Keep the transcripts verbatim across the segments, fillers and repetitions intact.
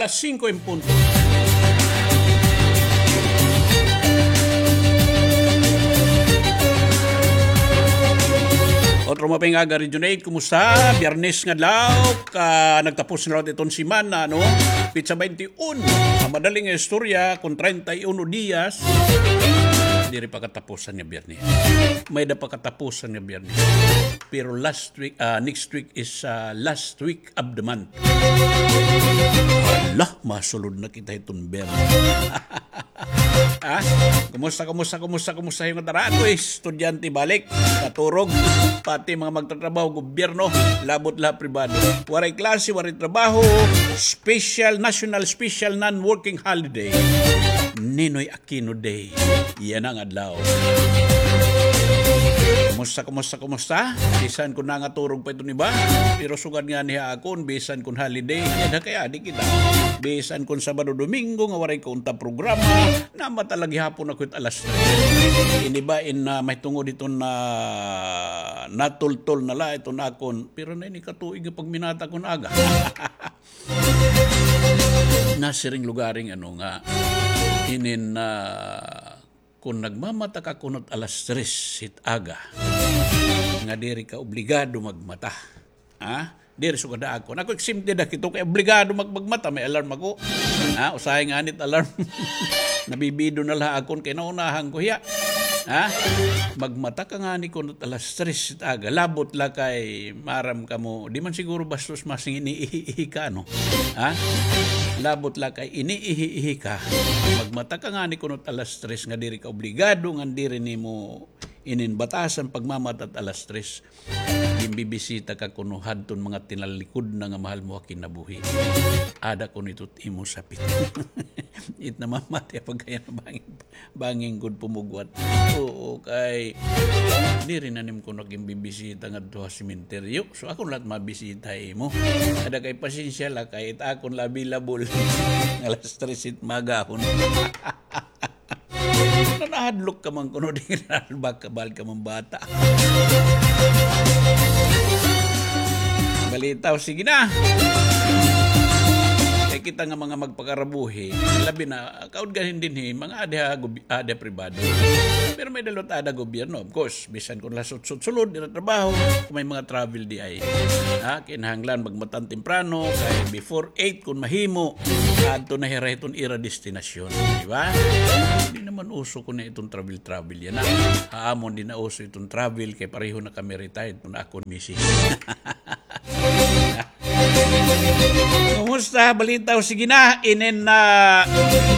Singko en punto. Otro mapinga, Region eight, kumusta? Biyernes nga adlaw, ka nagtapos na liwat iton semana, no? Petsa baynte uno. An madaling istorya, kon treinta y uno diyas, diri pa katapusan nga Biyernes. May-ada pa katapusan nga Biyernes. Pero last week, ah, next week is, ah, last week of the month. Hala, masulod na kita hiton Biyernes. Ha? Kumusta, kumusta, kumusta, kumusta hiyo ngataray? Ako, estudyante balik, katurog, pati mga magtatrabaho, gobyerno, labot la pribado. Waray klase, waray trabaho, special, national special non-working holiday. Ninoy Aquino Day. Yana nga adlaw. Kumusta, kumusta, kumusta? Bisan kon nangaturog pa iton iba, pero sugad ngani ha akon, bisan kon holiday, yana kay adi kita. Bisan kon Sabado, Domingo nga waray ko unta programa, namata la gihapon ako hit alas tres. Ini ba in, ah, mahitungod hiton natultol na la iton akon, pero na ini katuig nga pagminata kon aga. Nasiring lugaring ano nga, inin, ah, kon nagmamata ka kuno hit alas tres hit aga, nga diri ka obligado magmata. Ha? Diri sugad ha akon. Ako, exempted ako hito kay obligado mag-, magmata, may alarm ako. Ha? Usahay ngani it alarm. Nabibido na la ha akon kay naunahan ko hiya. Ha? Magmata ka ngani kuno hit alas tres hit aga. Labot la kay maaram kamo, di man siguro bastos masing iniihi-ihi ka, no? Ha? Labot la kay iniihi-ihi ka. Magmata ka ngani kuno hit alas tres nga diri ka obligado ngan diri nimo inin batasan pagmamata hit alas tres. Ginbibisita ka kuno hadton mga tinalikod na nga mahal mo ha kinabuhi. Ada kuno ito it imo sapit. It namamati pagkaya na bangin, bangin gud pumugwat. Oo, kay diri na nim kuno ginbibisita ngadto ha sementeryo. So, akon la it mabisita imo. Ada kay pasensya la kay it akon la available. Alas tres it magahon. Nanahadlok ka man kuno, di nahadlok ka, bahal ka man bata. Balitaw, sige na. Kay kita nga mga magpakarabuhi, labi na, kaudgan dinhi, mga adi ha gob-, adi ha pribado. Pero may-ada liwat ada gobyerno, of course. Bisan kon la sutsot sulod, diri trabaho, kon may mga travel diay. Ha, kinahanglan magmatan temprano, kay before eight kon mahimo, adto na hira hiton ira destinasyon, di ba? Di naman uso kuno iton travel-travel yana. Ha amon di na uso iton travel, kay pareho na kami retired, kun akon misis. Kumusta? Balitaw, sige na. Inin na,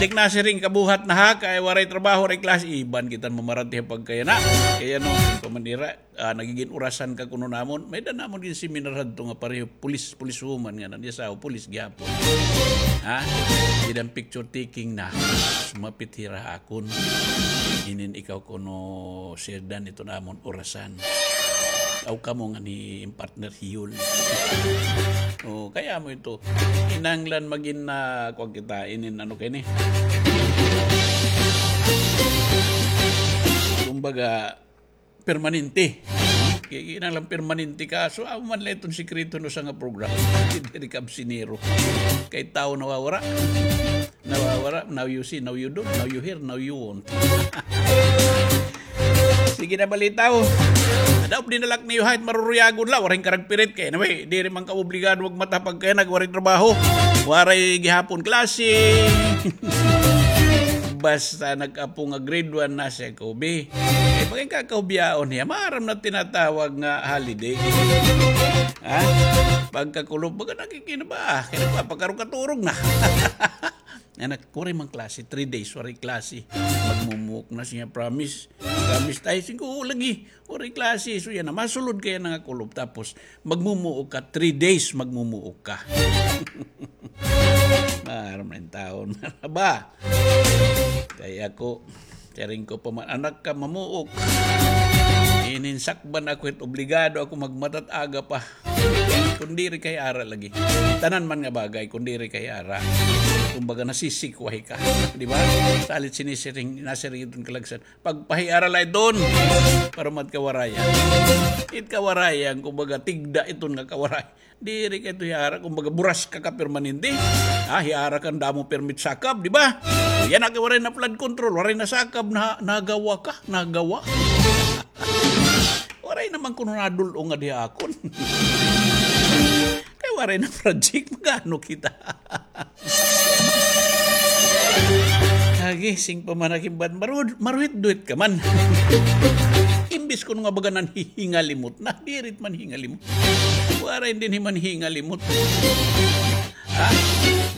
dik na siring kabuhat na ha, kay waray trabaho, waray klase, iban kita mamarati ha pagkayana. Kay ano, pamanira, ah, nagigin orasan ka kuno namon. May-ada namon gin seminar hadto nga pareho, police, police woman nga nan, iya asawa, police gihapon. Ha? Dida picture taking na. Sumapit hira ha akon. Inin ikaw kuno, Sir Dan, ito namon orasan. Aw kamo nga ni partner Hiyol. O, kay amo ito. Kinahanglan magin na, kuwan kita, inin ano kay ni. Kumbaga, permanente. Ki-, kinahanglan permanente ka. So, amo man la iton sikreto no sa nga programa. Diri ka absinero. Kay tawo nawawara. Nawawara, now you see, now you don't, now you hear, now you won't. Sige na, balitaw. Daw, dinalak niyo hait maruruyagon la, waray karagpirit kay, anyway, diri man ka obligado magmata pagkay nagwaray trabaho. Waray gihapon klase. Basta nag-apo nga grade one na siya, Kobe. Kay pagkakaubiyaon niya, maaram na tinatawag nga holiday. Ha? Pagkakulop, baga nakikinaba. Kaya nagpapakaroon katurog na. Anak, waray man klase, three days, waray klase. Magmumuok na siya, promise. Promise tayo, sige, oo, lagi. Waray klase, so yana, masulod kaya na nga kulop. Tapos, magmumuok ka, three days, magmumuok ka. Maaram na yung taon, ba? Kaya ako, siring ko pa man, anak ka, mamuok. Inin sakban ako, it obligado ako magmata hit aga pa. Kun diri ka hiara lagi. Tanan man nga bagay, kun diri ka hiara. Kumbaga, nasisikwahi ka. Di ba? Salit sinisiring, nasiring iton kalagsan. Pagpahiara la iton. Para mat kawarayan. It kawarayan, kumbaga, tigda iton nga kawaray. Diri ka ito hiara, kumbaga, buras ka ka permanente. Ha, hiara ka nga damo permit sakab, di ba? Yana kay waray na flood control, waray na sakab, na, nagawa ka, nagawa. Waray naman kuno nadul-ong nga di akon. Kay waray na project, mag-ano kita? Agi, sing pa man akimbat, marud-, maruhit-duhit ka man. Imbis kuno nga baga nanhihingalimot na, diri it man hingalimot. Waray dinhi man hingalimot. Ha?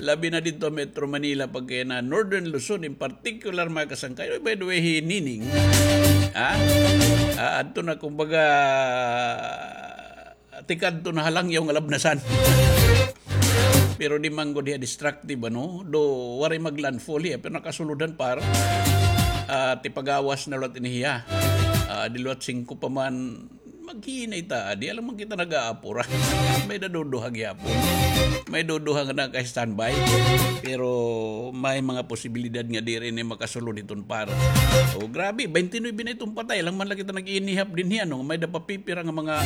Labi na didto ha Metro Manila, pagkayana Northern Luzon in particular, mga kasangkay. By the way, hi Nining, ha? Ah, adto na, kumbaga, tikadto na ha langyaw nga labnasan. Pero di man gud hiya destructive, ano? Do, waray mag-landfall hiya, pero nakasulod han par. Ah, tipagawas na liwat ini hiya. Ah, di liwat singko pa man, maghinay ta, di alam man kita nag-aapura. May-ada duduha gihapon. May duduha nga naka-standby. Pero may mga posibilidad nga diri ini makasulod hiton par. O, grabe, twenty-nine na iton patay. Alang man la kita nag-inihap dinhi, ano, may-ada pa pipira nga mga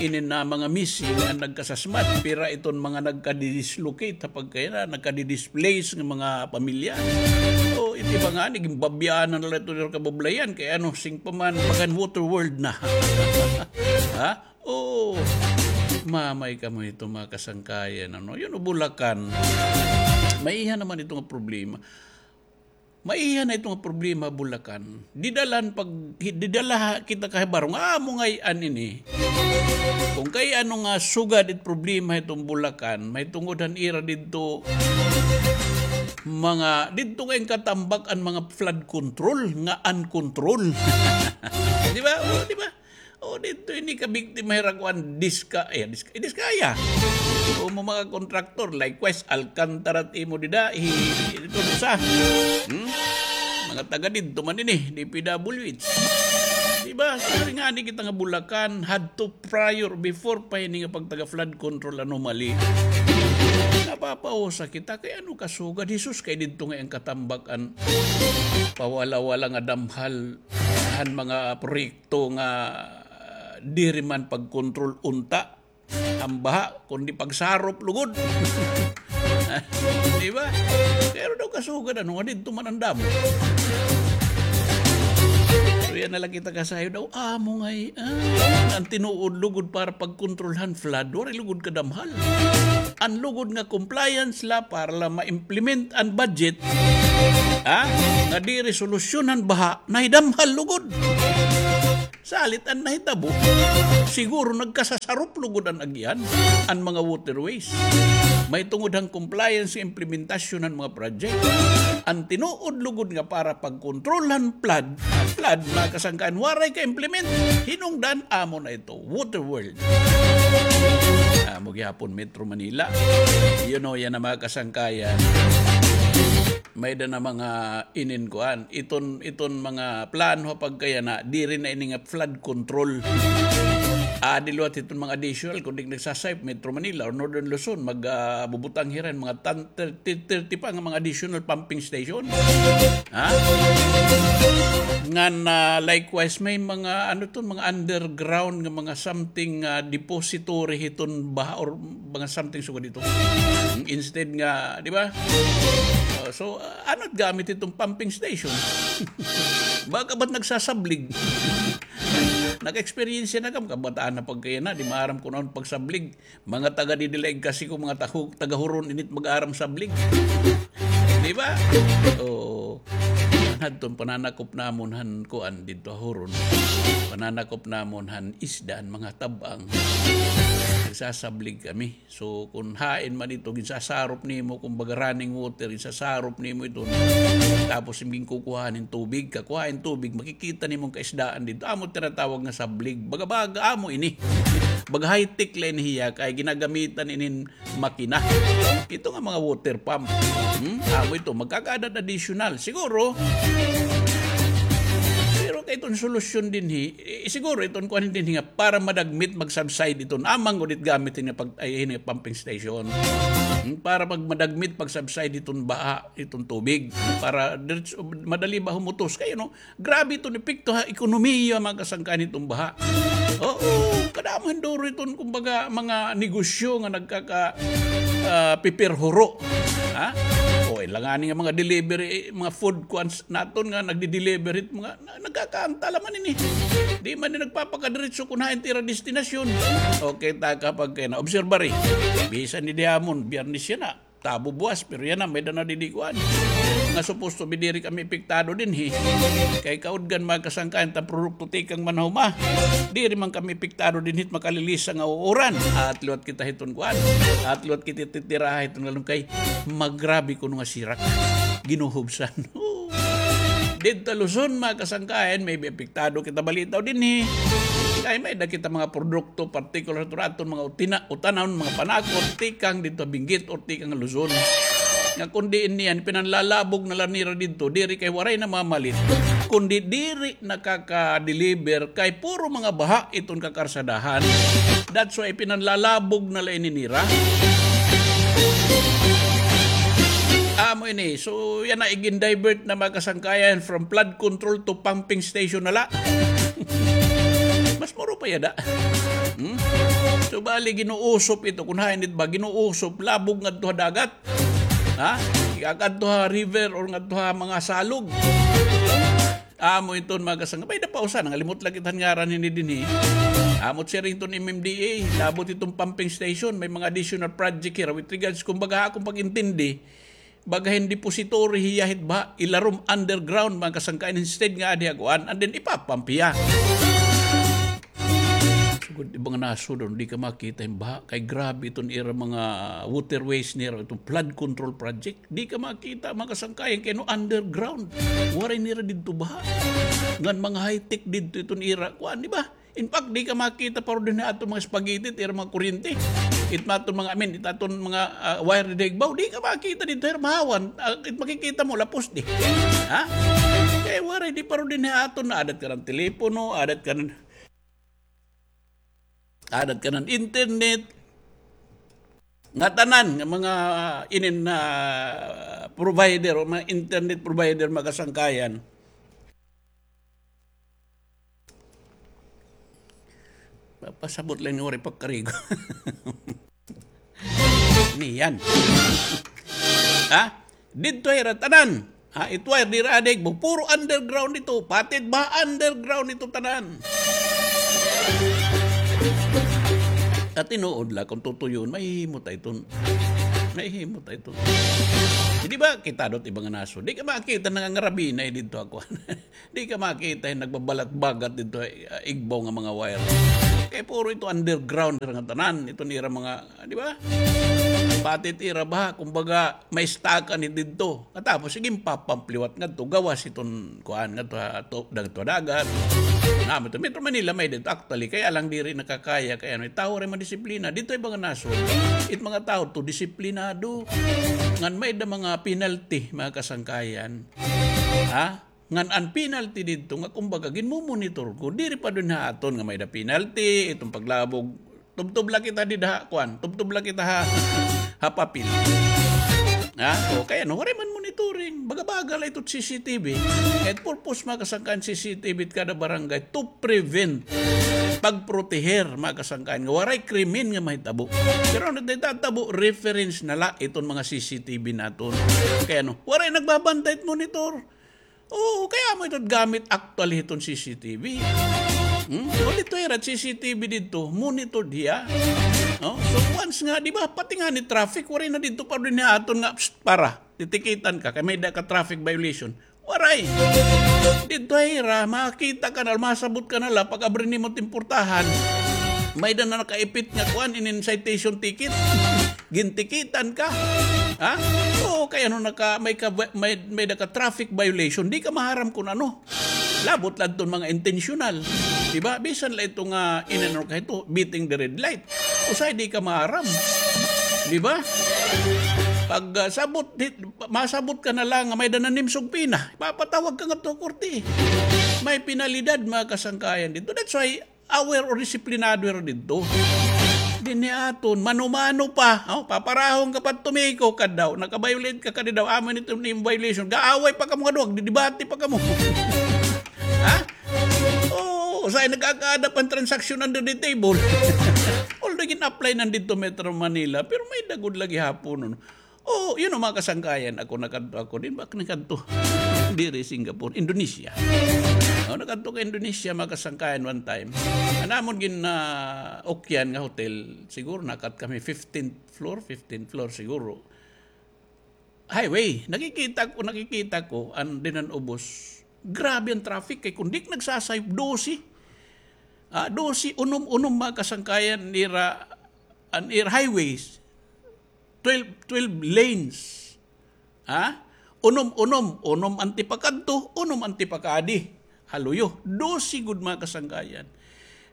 inin na mga missing nga nagkasasmad. Pira iton mga nagka-dislocate, ha, pagkayana, nagka-displace nga mga pamilya. O, iti ba ngani, ginbabyaan na la ito dito kabablayan. Kay ano, sing pa man, bagan water world na. Ha? O, mamay kamo ito, mga kasangkayan, ano? Yun, o, Bulacan. Maiha naman ito nga problema. Maiha na ito nga problema, Bulacan. Didalhan pag, didala kita kahibarong, ah, amo ngay-an ini. Kung kay ano nga sugad it problema iton Bulacan, mahitungod han ira didto, mga, didto kay katambak an mga flood control nga uncontrol. Di ba? O, di ba? O, didto ini kabiktima hira kuan, Diska-, eh, Diska-, eh, Diskaya. O, mo mga kontraktor, likewise, Alcantara it imo dida, hi-, didto sa. Hmm? Mga taga didto man ini, D P W H. Di ba? Sorry nga, ni kita nga Bulacan, hadto prior, before pa ini nga pagtaga flood control anomaly. Napapausa kita, kay ano kasugad, Jesus, kay didto ngay-an katambak an pawala-wala nga damhal han mga proyekto nga, ah, diri man pagkontrol unta an baha, kundi pagsarop lugod. Di ba? Pero daw kasugad, ano, nga didto man an damo. So, yana la kita kasayod daw, amo ngay-an, ah, an tinuod lugod para pagkontrol han flood, waray lugod kadamhal. An lugod nga compliance la para la ma-implement an budget, ha? Nga diri solusyon han baha, nahidamhal lugod. Salit an nahitabo, siguro nagkasasarop lugod an agian, an mga waterways. Mahitungod han compliance nga implementasyon han mga project. An tinuod lugod nga para pagkontrol han flood, flood, mga kasangkayan, waray ka-implement. Hinungdan, amo na ito, water world. Amo gihapon, Metro Manila. You know, yana, mga kasangkayan. May-ada na mga inin kuan. Iton, iton mga plano pagkayana, diri na ini nga flood control. Adi liwat iton mga additional, kun di nagsasayop, Metro Manila or Northern Luzon, mag, ah, bubutang hira hin mga tan-, thirty, thirty pa nga mga additional pumping station. Ha? Ngan, ah, likewise, may mga, ano ton, mga underground nga mga something, ah, depository hiton baha or mga something sugad dito. Instead nga, di ba? Uh, so, uh, ano it gamit iton pumping station? Baka ba't nagsasablig? Naka-experience na kam, kabataan na pagkayana, di maaram kun ano pagsablig. Mga taga didi la igkasi ko, mga tahu-, taga Huron, init mag-aram sablig. Di ba? Oo. Hadton pananakop namon han kuan didto ha Huron. Pananakop namon han isda, han mga tab-ang. Nagsasablig kami. So, kun hain man ito, ginsasarop nimo, kumbaga running water, ginsasarop nimo ito. Tapos, ginkukuhaan hin tubig, kakuhaan hin tubig, makikita nimo an kaisdaan didto. Amo tinatawag nga sablig. Baga, baga, amo ini. Baga high-tech la ini hiya, kay ginagamitan inin makina. Ito nga mga water pump. Hmm? Amo ito, magkakaada additional. Siguro, pero Kay iton solusyon dinhi, eh, siguro iton kuan dinhi nga para madagmit mag-subside iton amang ulit gamit nga pag-, ay, ini pumping station. Hmm, para mag-, madagmit pag-subside iton baha, iton tubig. Para diretso, madali ba humutos? Kay ano, grabe iton epekto ha ekonomiya, mga kasangkayan, iton baha. Oo, kadamo hin duro iton, kumbaga, mga negosyo nga nagkaka-, ah, pipirhuro. Ha? O, ilangani nga mga delivery, eh, mga food kuan naton nga nagdi-deliver it mga na-, nagkakaantala man ini. Di man ni nagpapakadiretso kun hain it ira destinasyon. Okay, ta kapag kay na-obserbar, eh. Bisan ni dihamon, Biyernes yana. Tabo buwas, pero yana, may-ada na didi kuan. Nga supposed to be diri kami epektado dinhi. Kay kaudgan, mga kasangkayan, ta produkto tikang manhuma. Diri man kami epektado dinhi it makalilisa nga uuran. At liwat kita hiton kuan. At liwat kita titiraha hiton ngalon kay magrabe kuno nga sirak. Ginuhubsan. Didto Luzon, mga kasangkayan, maybe apektado kita balitaw dinhi. Kay may-ada kita mga produkto, particular to aton mga utina-, utanon, mga panakot, tikang didto Benguet or tikang Luzon. Nga kundi niyan, pinanlalabog na la nira didto, diri kay waray namamalit. Kundi diri nakaka-deliver kay puro mga baha iton kakarsadahan. That's why pinanlalabog na la ini nira. Amo ini. So, yana, igin-divert na, mga kasangkayan, from flood control to pumping station na la. Mas mura pa yada. Hmm? So, bali, ginuusop ito. Kun hain it ba, ginuusop, labog ngadto ha dagat. Ha? Ikakadto ha river or ngadto ha mga salog. Amo iton, mga kasangkayan. May-ada pa usa, nangalimot la kita han ngaran hini dinhi. Amo it siring hiton M M D A, labot iton pumping station, may mga additional project hira with regards, kumbaga, akon pag-intindi, baga hin depository hiya hit baha, ilarom underground, mga kasangkayan, instead nga adi ha kuan, and then ipapump hiya. Sugod, iba nga nasod, di ka makita hin baha. Kay grabe iton ira mga waterways nira, iton flood control project. Di ka makita, mga kasangkayan, kay no underground. Waray nira didto baha. Ngan mga high-tech didto iton ira. Kuan, di ba? In fact, di ka makita pa rin aton mga spaghetti, it ira mga kuryente. It aton mga, I mean, it aton mga, ah, wire dida igbaw. Di ka makita didto, ira mahawan. Ah, it makikita mo, lapos di. Ha? Kay waray, di pa rin aton, adat ka ng telepono, adat ka ng Adat ka ng internet. Nga tanan nga mga inin na provider o mga internet provider, mga kasangkayan. Papasabot lang ni waray pagkarigo. Niyan. Ha? Didto hira tanan. Ha, it wire dira adig mo, puro underground ito. Pati it baha underground ito tanan. At tinuod la, kung tutuyon, mahihimo ta iton. Mahihimo ta iton. Di ba, kita dot iba nga nasod. Di ka makita nangangarabinay didto ako. Di ka makita hin nagbabalat-bagat didto, ah, igbaw nga mga wire. Kay puro ito underground nga tanan. Ito nira mga, ah, di ba? Pati it ira baha, kumbaga, may stakan ni didto. Katapos, sige, papampliwat ngadto, gawas iton, kuan, ngadto ha, to, ngadto ha dagat. Namo ito, Metro Manila, may didto, actually, kaya lang diri nakakaya, kay ano, it tawo ray madisiplina. Didto iba nga nasod, it mga tawo to, disiplinado. Ngan may-ada mga penalty, mga kasangkayan. Ha? Ngan an penalty didto nga, kumbaga, ginmumonitor ko. Diri pa dinhi ha aton nga may-ada penalty, iton paglabog. Tubtob la kita dida ha, kuan. Tubtob la kita ha, ha papel. Ha? O, kay ano, waray man monitoring. Baga-baga la ito C C T V. Kay it purpose, mga kasangkayan, C C T V it kada barangay to prevent, pagproteher, mga kasangkayan, nga waray krimen nga mahitabo. Pero ano it nahitatabo, reference na la iton mga C C T V naton. Kay ano, waray nagbabantay it monitor. Oo, kay amo ito gamit actually hiton C C T V. Hmm? So, didto hira C C T V didto, monitored hiya. No? So, once nga, di ba, pati ngani traffic, waray na didto pa dinhi ha aton nga, psst, para, titikitan ka, kay may-ada ka traffic violation. Waray. Didto hira, makita ka na, masabot ka na la, pag-abri nimo it portahan, may-ada na nakaipit nga kuan, inin citation ticket. Gintikitan ka. Ha? Oo, kay ano naka, may ka, may, may-ada ka traffic violation, di ka maharam kun ano. Labot la iton mga intentional. Di ba? Bisan la ito nga, ah, inano ka ito, beating the red light. Usahay di ka maharam. Di ba? Pag, ah, sabot, di, masabot ka na la nga may-ada nanimsog pina, ipapatawag ka ngadto ha korte. May penalidad, mga kasangkayan, didto. That's why aware or disiplinado hira didto. Dinhi aton, mano-mano pa. Oh, paparahon ka pa, tumiko ka daw. Naka-violate ka, kadi daw, amo ini it imo violation. Gaaway pa kamo nga duha, didebate pa kamo. Ha? Oh, usahay nagkakaada pa hin transaction under the table. Although gin-apply na didto Metro Manila, pero may-ada gud la gihapon. Oh, you know, mga kasangkayan, ako nakadto ako, di ba, nakadto. Diri Singapore, Indonesia. Oh, nakadto ka Indonesia, mga kasangkayan, one time. An amon gin, ah, ukyan nga hotel, siguro nakat kami fifteenth floor, fifteenth floor siguro. Highway, nakikita ko, nakikita ko, an dinhi han ubos. Grabe an traffic, kay kon di ka nagsasayop, dose. Ah, dose, unom-unom, mga kasangkayan, nira, an ira highways. Twelve, twelve lanes. Ha? Unom, unom, unom an tipakadto, unom an tipakaadi. Ha luyo, dose gud, mga kasangkayan.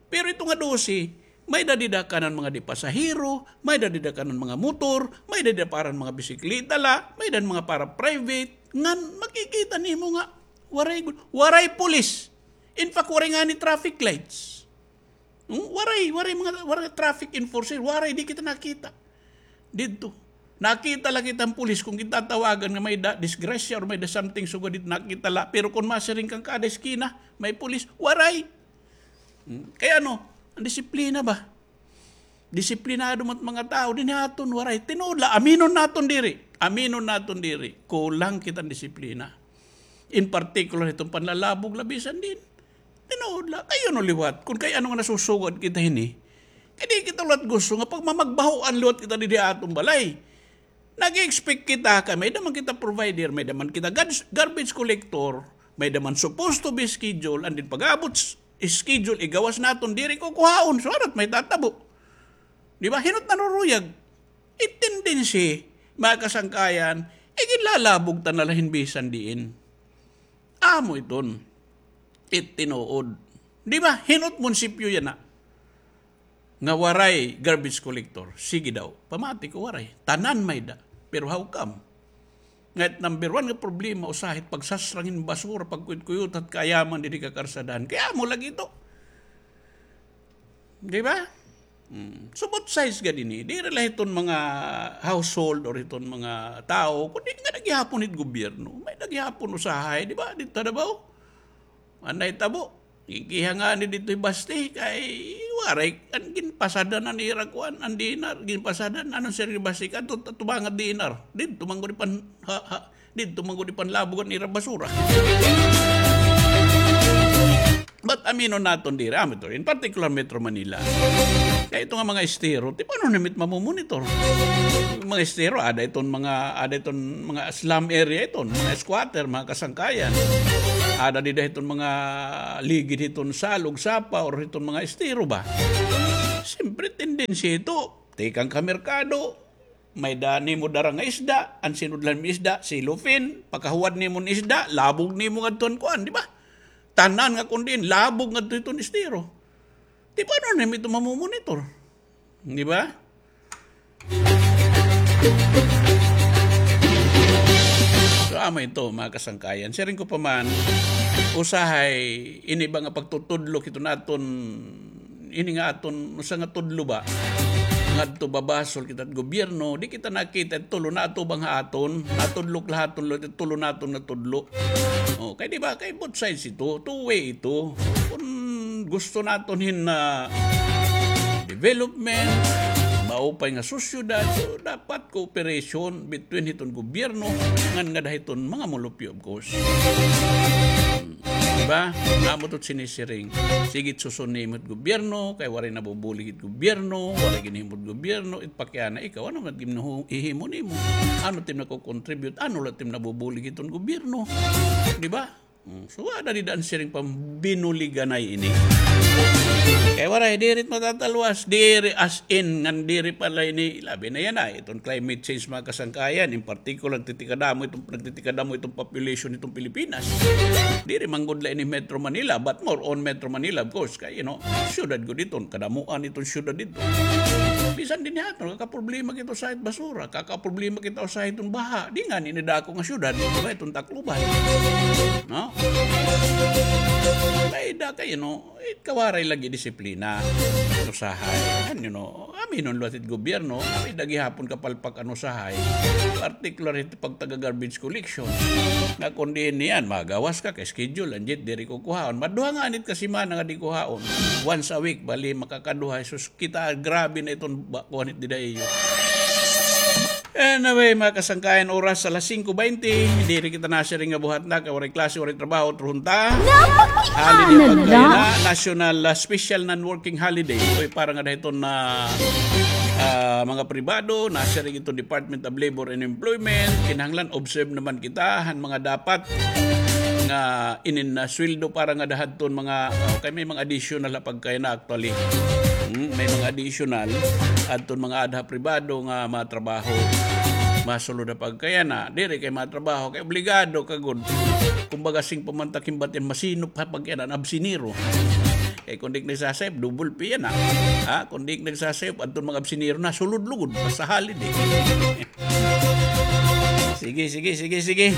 Pero ito nga dose, may-ada dida kanan mga di pasahero, may-ada dida kanan mga motor, may-ada dida para mga bisikleta la, may-ada mga para private. Ngan makikita nimo nga waray gud, waray pulis. In fact, waray ngani traffic lights. Hmm? Waray, waray mga, waray traffic enforcer, waray, di kita nakita. Didto. Nakita la kita an pulis kon gintatawagan nga may-ada disgrasya or may-ada something sugad didto, nakita la. Pero kon masiring ka nga kada eskina, may pulis, waray. Hmm? Kay ano, an disiplina ba? Disiplinado man it mga tawo, dinhi aton, waray. Tinuod la, aminon naton diri. Aminon naton diri. Kulang kita hin disiplina. In particular, iton panlalabog la bisan diin. Tinuod la, kay ano liwat, kon kay ano nga nasusugad kita hini. Kay di kita liwat gusto nga pagmamagbahoan liwat kita didi ha aton balay. Nag-expect kita kay may-ada man kita provider, may-ada man kita garbage, garbage collector, may-ada man supposed to be schedule, and then pag-abot s-, schedule, igawas naton, diri kukuhaon, so ano it may tatabo? Di ba? Hin-o it naruruyag? It tendency, mga kasangkayan, iginlalabog ta na la hin bisan diin. Amo iton. It tinuod. Di ba? Hin-o it munisipyo yana nga waray garbage collector? Sige daw. Pamati ko waray. Tanan may-ada. Pero how come? Nga it number one nga problema, usahay it pagsasrang hin basura, pagkuyot-kuyot, it kaayaman didi ha karsadahan. Kay amo lagi ito. Di ba? Hmm. So, both sides gad ini. Diri la hiton mga household or hiton mga tawo, kundi ngada gihapon hit gobyerno. May-ada gihapon usahay, di ba? Didto ha Davao. An nahitabo, ikiha ngani didto hi Basti, kay waray, an ginpasada na nira kuan, an D N R, ginpasada na, ano, Sir Basti, kadto, tubangan D N R. Didto man gud ipan-, ha, ha, Didto man gud ipanlabog an ira basura. But aminon naton diri, amo ito, in particular Metro Manila. Kay ito nga mga estero, ti paano na mit mamomonitor? Mga estero, ada iton mga, ada iton mga slum area iton, mga squatter, mga kasangkayan. Ada dida iton mga ligid hiton salog, sapa, or hiton mga estero ba? Siyempre, tendency ito, tikang ka merkado, may-ada nimo dara nga isda, an sinudlan mo isda, silupin, pagkahuwad nimo hin isda, labog nimo ngadto han kuan, di ba? Tanan nga kon diin, labog ngadto hiton estero. Di ba, ano na ito mamomonitor? Di ba? So, amo ito, mga kasangkayan. Siring ko pa man, usahay, ini ba nga pagtutudlo, ito naton ini nga aton, usa nga tudlo ba? Ngadto babasol kita hit gobyerno, di kita nakita it tulo, naatubang ha aton, natudlo la ha aton, it tulo naton nga tudlo. Oh, kay di ba, kay both sides ito, two way ito. Kon gusto naton hin, ah, development, maupay nga sosyedad, so dapat cooperation between hiton gobyerno ngan ngada hiton mga mulupyo, of course. Hmm. Di ba? Amo ito it sinisiring. Sige it suson nimo it gobyerno, kay waray nabubulig it gobyerno, waray ginhimo it gobyerno, it pakiana ikaw, ano man it ginhihimo nimo? Ano it im nakocontribute? Ano la it im nabubulig hiton gobyerno? Di ba? Hmm, so, ada dida an siring pambinuliganay ini. Kay waray, diri it matatalwas, diri as in, ngan diri pa la ini, labi na yana, iton climate change, mga kasangkayan, in particular, nagtitikadamo iton, nagtitikadamo iton population iton Pilipinas. Diri man gud la ini Metro Manila, but more on Metro Manila, of course, kay, you know, syudad gud iton, kadamuan iton syudad didto. Bisan dinhi ha aton, kakaproblema kita usahay hit basura, kakaproblema kita usahay hiton baha. Di ngani ini dako nga syudad, di ba, iton Tacloban. No? May-ada kay, no, it kawaray lagi disiplina. Usahay. Ano, no? Aminon liwat it gobyerno, may-ada gihapon kapalpak an usahay. Particular it pagtaga-garbage collection. Nga kon diin niyan, magawas ka kay schedule, anjit diri ko kuhaon. Maduha ngani it kasimana nga di kuhaon. Once a week, bali makakaduha. Sus, kita, grabe na iton ba-, kuan it dida iyo. Anyway, mga kasangkayan, oras alas singko baynte, diri kita nasiring nga buhat na, kay waray klase, waray trabaho, truhon ta. Holiday pagkaya na, national, ah, special non-working holiday. Uy, para nga dahiton na, ah, mga pribado, nasiring iton Department of Labor and Employment, kinahanglan observe naman kita han mga dapat nga inin na sweldo para nga dahadton mga, ah, kay may mga additional ha pagkaya na actually. Hmm, may mga additional adton mga adha pribado nga mga trabaho. Masulod ha pagkaya na, diri kay mga trabaho, kay obligado ka gud. Kumbaga, sing pamantakin batin, masinop ha pagkaya na, absinero. Kay kung di nagsasayop, double pay yana. Ha? Kung di nagsasayop, adton mga absinero na, sulod lugod, basta holiday. Sige, sige, sige, sige.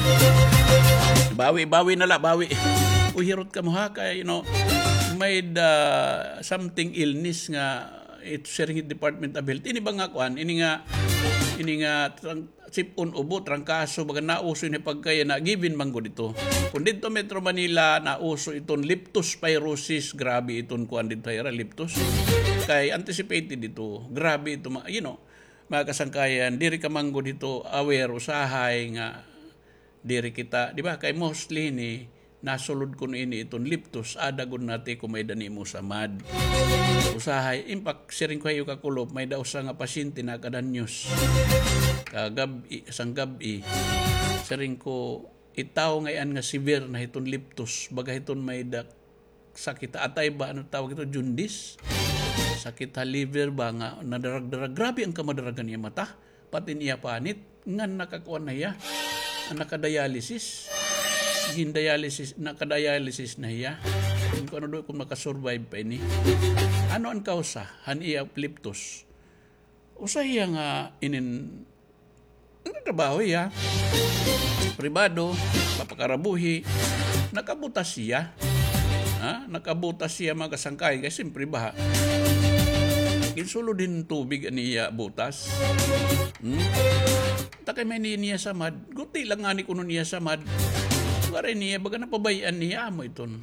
Bawi, bawi na la, bawi. Uy, hirot kamo ha, kay, you know, may-ada something illness nga it siring it Department of Health. Ini ba nga kuan, ini nga, ini nga trang-, sip-on ubo, trangkaso, baga nauso ini pagkaya na given man gud ito. Kung didto Metro Manila, nauso iton leptospirosis, grabe iton kuan didto, ira, leptos. Kay anticipated ito, grabe ito, ma-, you know, mga kasangkayan, diri ka man gud hito aware usahay nga diri kita, di ba? Kay mostly ni nasulod kuno ini iton leptos, ada gud nati kung may-ada nimo samad. Usahay, in fact, siring ko ha iyo kakulop, may-ada usa nga pasyente nakadanyos. Kagab-i, sanggab-i, siring ko, it tawo ngay-an nga severe na hiton leptos, baga hiton may-ada sakit ha atay ba, ano tawag ito, jaundice? Sakit ha liver ba nga nadarag-darag. Grabe an kamadaragan iya mata. Pati niya panit, ngan nakakuan na hiya. Nakadialysis. Gin-dialysis, nakadialysis na hiya. Kung ano do, kung makasurvive pa ini. Ano an kausa han iya leptos? Usa hiya nga inin, nagtrabaho hiya. Pribado, papakarabuhi, nakabutas hiya. Ha? Nakabutas hiya, mga kasangkay, kay siyempre baha. Ginsulod hin tubig an iya butas. Hmm? Takay may niya samad. Guti lang ngani kuno niya samad. Waray niya, baga napabay-an niya, amo iton.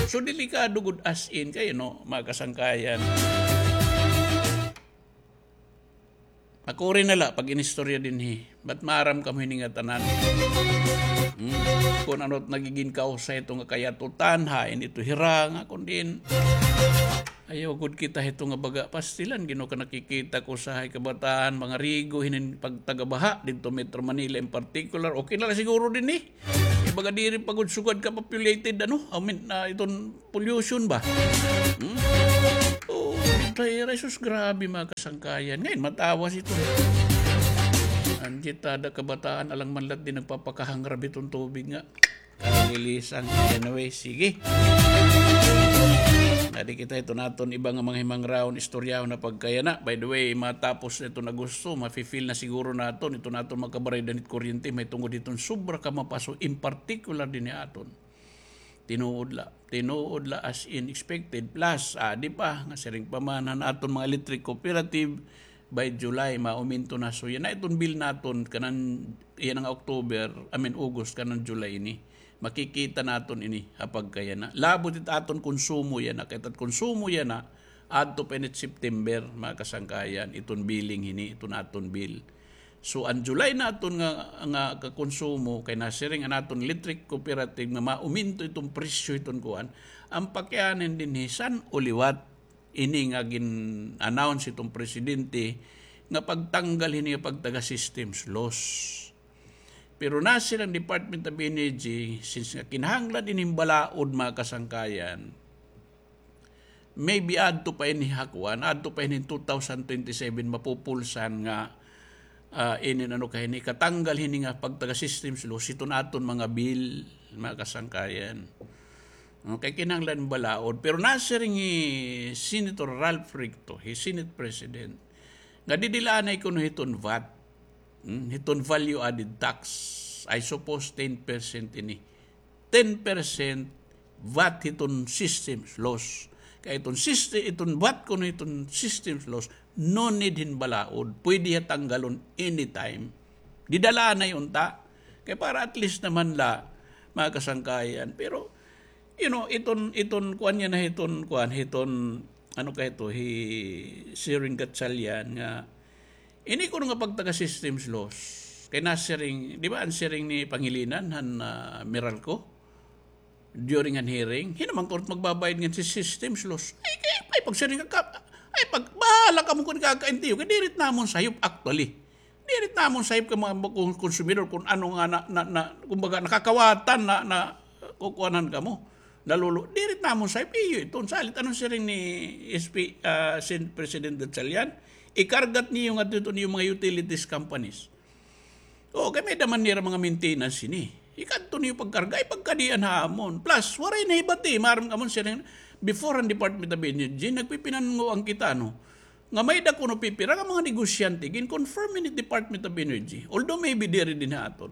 So, delikado gud as in, kay, no, mga kasangkayan. Makuri na la pag-inistorya dinhi. Ba't maaram kamo hini nga tanan? Hmm? Kun ano it nagigin kausa ito nga kayatutan, hain ito hira nga kun diin. Ayaw gud kita hito nga baga pastilan, Ginoo, ka nakikita ko usahay kabataan, mga rigo, hinin pagtagabaha didto Metro Manila in particular. Okay na la siguro dinhi. Ibaga diri pa gud sugad ka populated, ano? I mean, ah, iton pollution ba? Hmm? Oh, tay, Jesus, grabe, mga kasangkayan. Ngayon, matawas ito. Anjit, ada kabataan, alang man la it di nagpapakahangrab hiton tubig nga. Kalilisan. Anyway, sige. Adi kita, ito naton iba nga mga himangraon, istoryahon na pagkayana. By the way, matapos na iton Agosto, mafi-feel na siguro naton, ito naton mga kabaray danit kuryente, may tungod hiton sobra ka mapaso, in particular dinhi aton. Tinuod la. Tinuod la as in expected. Plus, adi pa, nga siring pa man han aton mga electric cooperative, by July, mauminto na. So, yana iton bill naton, kanan, yana nga October, I mean, August, kanan July ini. Makikita naton ini, ha pagkayana. Labot it aton konsumo yana, kay it konsumo yana, adto pa ini September, mga kasangkayan, iton billing hini, iton aton bill. So, an July naton nga, nga kakonsumo, kay nasiring an aton electric cooperative nga mauminto iton presyo hiton kuan, an pakianhin dinhi san-o liwat ini nga gin-announce hiton presidente nga pagtanggal hini nga pagtaga systems loss. Pero nasiring an Department of Energy, since nga kinahanglan ini hin balaod, mga kasangkayan, maybe adto pa ini ha kuan, adto pa ini two thousand twenty-seven mapupulsan nga, ah, ini ano ka hini, katanggal hini nga pagtaga systems loss hiton aton mga bill, mga kasangkayan. Okay, kinahanglan balaod. Pero nasiring hi Senator Ralph Recto, hi Senate President, Nga didi la anay kuno hiton vat. Hmm, hiton value added tax. I suppose ten percent ini. Ten percent vat hiton systems loss. Kay iton syste-, iton vat kuno hiton systems loss, no need hin balaod. Pwede hiya tanggalon anytime. Dida la anay unta. Kay para at least naman la, mga kasangkayan. Pero, you know, iton, iton, kuan niya na hiton, kuan, hiton, ano kay ito, hi Siring Gatchalian nga, ini kuno nga pagtaga systems loss. Kay nasiring, di ba, an siring ni Pangilinan, han, ah, Meralco? During an hearing, hin-o man kuno magbabayad ngan si systems loss. Ay, kay, ay, pagsiring ka, ay, pag, bahala kamo kun kakaintiyo, kay diri it namon sayop, actually. Diri it namon sayop kay mga kon-, konsumidor kun ano nga na, na, na, kumbaga, nakakawatan na, na, kukuanan kamo. Nalulu-, diri it namon sayop, iyo iton. Salit, ano siring ni S P, ah, Sen-, President Gatchalian? Ikarga it niyo ngadto hiton iyo mga utilities companies. O, kay may-ada man nira mga maintenance ini. Ikadto niyo pagkarga, ay pagkadian hamon. Plus, waray nahibati, maaram kamo siring, before an Department of Energy, nagpipinanguan kita, no? Nga may-ada kuno pipira nga mga negosyante, gin-confirm ini Department of Energy. Although maybe diri dinhi ha aton.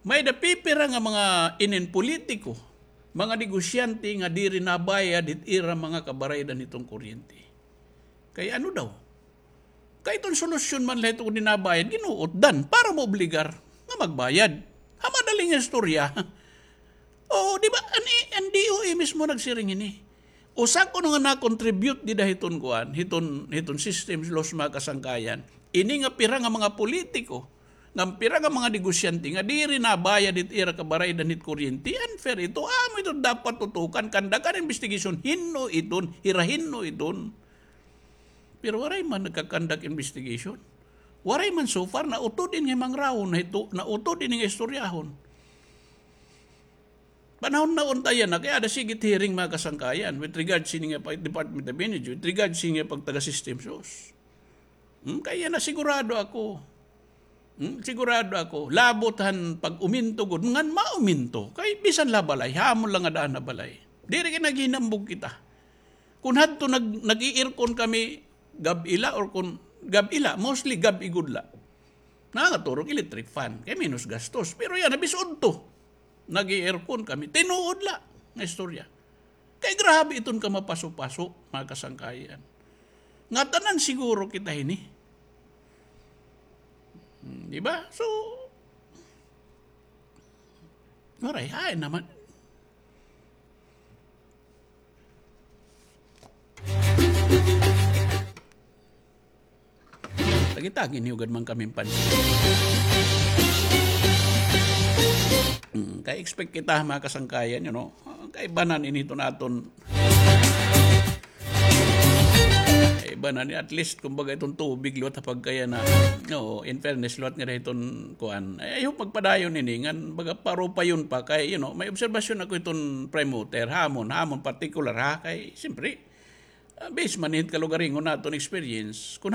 May-ada pipira nga mga inin politiko, mga negosyante nga diri nabayad hit ira mga kabaraydan hiton kuryente. Kay ano daw? Kay iton solusyon man la ito kun di nabayad, ginuot dan para maobligar nga magbayad. Ha madaling istorya. Oo, di ba? An, an D O E mismo nagsiring ini. Usa kuno nga na-contribute dida hiton kuan, hiton, hiton systems loss, mga kasangkayan. Ini nga pira nga mga politiko, nga pira nga mga negosyante nga diri nabayad hit ira kabaraydan hit kuryente, unfair ito. Amo ito dapat tutukan, kandakan investigation, hin-o iton, hira hin-o iton. Pero waray man nagka-conduct investigation. Waray man so far nautod ini nga mangrahon, nautod ini nga istoryahon. Panahon na unta yana, kay ada sige it hearing, mga kasangkayan, with regards sini nga pa-, Department of Energy, with regards sini nga pagtaga systems loss. Hmm, kay yana sigurado ako. Hmm, sigurado ako. Labot han pag-uminto gud, ngan mauminto. Kay bisan la balay, hamon la nga daan ha balay. Diri kay naghinambog kita. Kun hadto nag-, nag-i-aircon kami gab-i la or kun gab-i la, mostly gab-i gud la. Nangaturog electric fan, kay menos gastos. Pero yana, bis-a udto. Nag-i-aircon kami. Tinuod la nga istorya. Kay grabe iton kamapaso-paso, mga kasangkayan. Ngatanan siguro kita hini. Hmm, di ba? So, waray, hain naman. Tagi-tagi niyo gad man kami pansin. Hmm, kay expect kita, mga kasangkayan, you know, kaibanan ini hiton aton. Kaibanan ini, at least, kumbaga, iton tubig, liwat ha pagkayana. Oo, in fairness, liwat ngada hiton kuan. I hope magpadayon ini, ngan baga parupayon pa kay, you know, may obserbasyon ako hiton Prime Water, hamon, hamon particular, ha, kay, siyempre, ah, base man hit kalugaringon naton experience. Kun